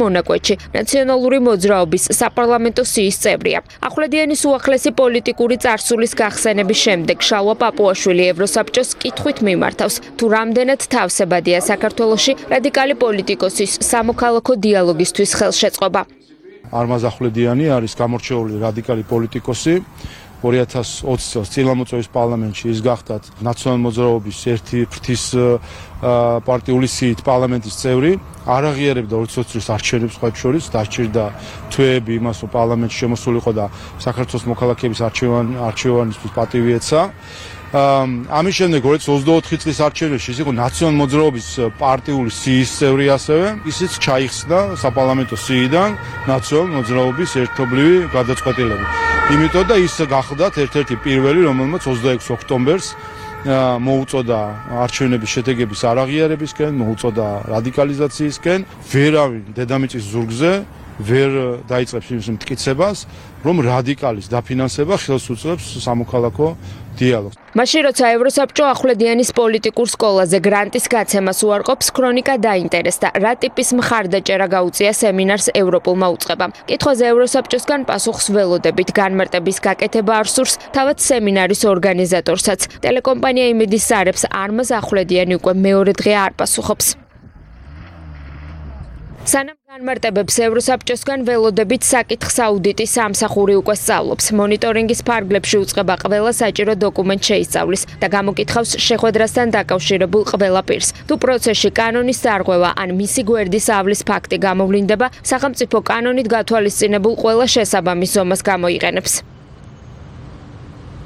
მონაკვეთში ნაციონალური მოძრაობის საპარლამენტო სიის წევრია. ახვლედიანის უახლესი პოლიტიკური წარსულის გახსენების შემდეგ შალვა პაპუაშვილი ევროსაბჭოს კითხვით მიმართავს, თუ რამდენად თავსებადია საქართველოში რადიკალი პოლიტიკოსის სამოქალაქო დიალოგისთვის ხელშეწყობა. არმაზ ახვლედიანი არის გამორჩეული რადიკალი პოლიტიკოსი. 2020 წელს წილამოწევის პარლამენტში ის გახდათ ნაციონალური მოძრაობის ერთი ფრთის პარტიული სიით პარლამენტის წევრი. არ აღიარებდა 2020 წლის არჩევნებს სხვაებს შორის, დაჭირდა თვეები იმას, რომ პარლამენტში შემოსულიყო და საქართველოს მოქალაქეების არჩევანისთვის პატივი ეცა. ამის შემდეგ 2024 წლის არჩევნებში ის იყო ნაციონალური მოძრაობის პარტიული სიის წევრი ასევე. ისიც ჩაიხსნა საპარლამენტო სიიდან ნაციონალური მოძრაობის ერთობლივი გადაწყვეტილებით. იმიტომ და ის გახლდათ ერთ-ერთი პირველი, რომელმაც 26 ოქტომბერს მოუწოდა არჩევნების შედეგების არაღიარებისკენ, მოუწოდა რადიკალიზაციისკენ. ვერავინ დედამიწის ზურგზე ვერ დაიწყებს იმ მტკიცებას, რომ რადიკალის დაფინანსება ხელს უწყობს სამოქალაქო დიალოგს. მაშინ როცა ევროსაბჭო ახვლედიანის პოლიტიკურ სკოლაზე გრანტის გაცემას უარყოფს, ქრონიკა დაინტერესდა, რა ტიპის მხარდაჭერა გაუწია სემინარს ევროპულმა უწყებამ. კითხვაზე ევროსაბჭოსგან პასუხს ველოდებით, განმარტების გაკეთება არ სურს თავად სემინარის ორგანიზატორსაც. ტელეკომპანია იმედის სარებს არმაზ ახვლედიანი უკვე მეორე დღე არ პასუხობს. სანამ განმარტებებს ევროსაბჭოსგან ველოდებით საკითხს აუდიტის სამსახური უკვე სწავლობს. მონიტორინგის ფარგლებში უწყება ყველა საჭირო დოკუმენტ შეისწავლის და გამოკითხავს შეხვედრასთან დაკავშირებულ ყველა პირს. თუ პროცესში კანონის დარღვევა ან მისი გვერდის ავლის ფაქტი გამოვლინდება, სახელმწიფო კანონით გათვალისწინებულ ყველა შესაბამის ზომას გამოიყენებს.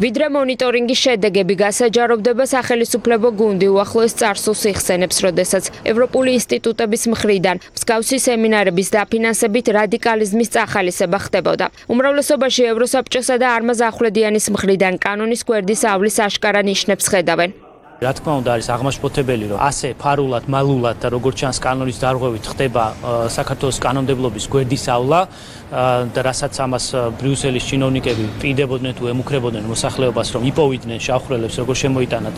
ვიდრე მონიტორინგის შედეგები გასაჯაროვდება, სახელისუფლებო გუნდი უახლოეს წარსულს იხსენებს, როდესაც ევროპული ინსტიტუტების მხრიდან მსგავსი სემინარების დაფინანსებით რადიკალიზმის წახალისება ხდებოდა. უმრავლესობაში ევროსაბჭოსა და არმაზ ახვლედიანის მხრიდან კანონის გვერდის ავლის აშკარა ნიშნებს ხედავენ. რა თქმა უნდა არის აღმაშფოთებელი, რომ ასე ფარულად, მალულად და როგორც ჩანს კანონის დარღვევით ხდება საქართველოს კანონმდებლობის გვერდის ავლა და რასაც ამას ბრიუსელის ჩინოვნიკები პირდებოდნენ თუ ემუქრებოდნენ მოსახლეობას, რომ იპოვიდნენ შავხრელებს, როგორ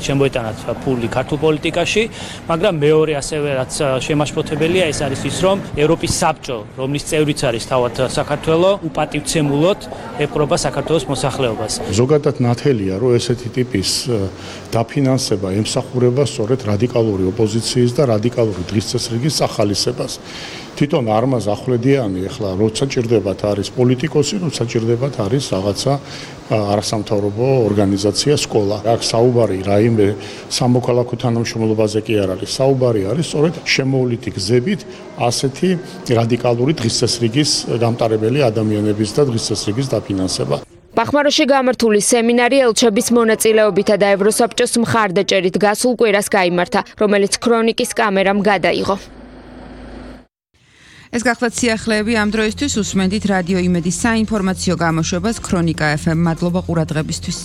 შემოეტანათ ფული ქართულ პოლიტიკაში, მაგრამ მეორე ასევე რაც შემაშფოთებელია, ეს არის ის, რომ ევროპის საბჭო, რომლის წევრიც არის თავად საქართველო, უპატივცემულოდ ეპყრობა საქართველოს მოსახლეობას. ზოგადად ნათელია, რომ ესეთი ტიპის დაფინანსება ემსახურება სწორედ რადიკალური ოპოზიციის და რადიკალური დღისწესრიგის სახალისებას. თვითონ არმაზ ახვლედიანი ახლა როცა ჭირდებათ არის პოლიტიკოსი, როცა ჭირდებათ არის რაღაცა არასამთავრობო ორგანიზაცია, სკოლა. აქ საუბარი რაიმე სამოქალაქო თანამშრომლობაზე კი არ არის. საუბარი არის სწორედ შემოვლითი გზებით ასეთი რადიკალური დღისწესრიგის გამტარებელი ადამიანების და დღისწესრიგის დაფინანსება. ბახმაროში გამართული სემინარი ელჩების მონაწილეობითა და ევროსაბჭოს მხარდაჭერით გასულ კვირას გაიმართა, რომელიც ქრონიკის კამერამ გადაიღო. ეს გახლავთ სიახლეები ამ დროისთვის. უსმენთ რადიო იმედის საინფორმაციო გამოშვებას ქრონიკა FM. მადლობა ყურადღებისთვის.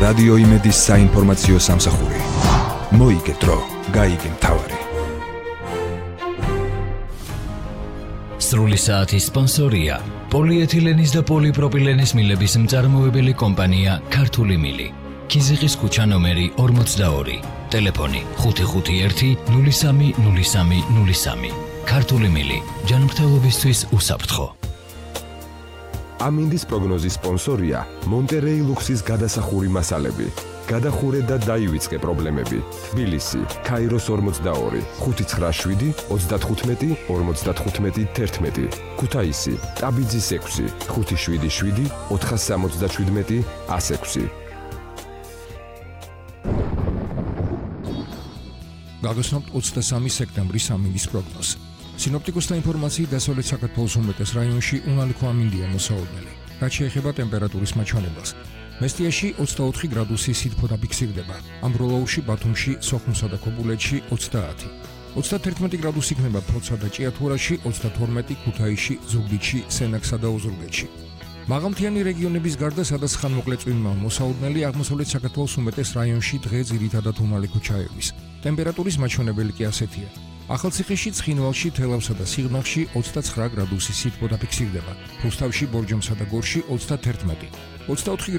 რადიო იმედის საინფორმაციო სამსახური. მოიგეთრო, გაიგე მთავარი. სრული საათის სპონსორია პოლიეთილენის და პოლიპროპილენის მილების მწარმოებელი კომპანია ქართული მილი. ქიზიყის ქუჩა ნომერი 42. ტელეფონი 551 03 03 03. ქართული მილი. ჯანმრთელობისთვის უსაფრთხო. ამინდის პროგნოზის სპონსორია მონტერეი ლუქსის გადასახური მასალები. გადახურე და დაივიწყე პრობლემები. თბილისი, ქაიროს 42, 597, 35, 55, 11. ქუთაისი, ტაბიძის 6, 577, 477, 106. გაგოსნობთ 23 სექტემბრის ამინდის პროგნოზს. სინოპტიკოსთა ინფორმაციით დასავლეთ საქართველოს უმეტეს რაიონში უნალიქო ამინდია მოსაოდნელი. რაც შეეხება ტემპერატურის მაჩვენებელს. მესტიაში 24 გრადუსი სითბო დაფიქსირდება. ამბროლაურში, ბათუმში, სოხუმსა და ქობულეთში 30. 31 გრადუსი იქნება ფოთსა და ჭიათურაში, 32 ქუთაისში, ზუგდიდში, სენაკსა და ოზურგეთში. მაღალმთიანი რეგიონების გარდა, სადაც ხანმოკლე წვიმაა მოსაოდნელი, აღმოსავლეთ საქართველოს უმეტეს რაიონში დღე ძირითადად უნალიქო ჩაევის. ტემპერატურის მაჩვენებელი კი ასეთია. ახალციხეში, ცხინვალში, თელავსა და სიღნაღში 29 გრადუსი სითბო დაფიქსირდება. რუსთავში, ბორჯომსა და გორში 31. 24 გრადუსი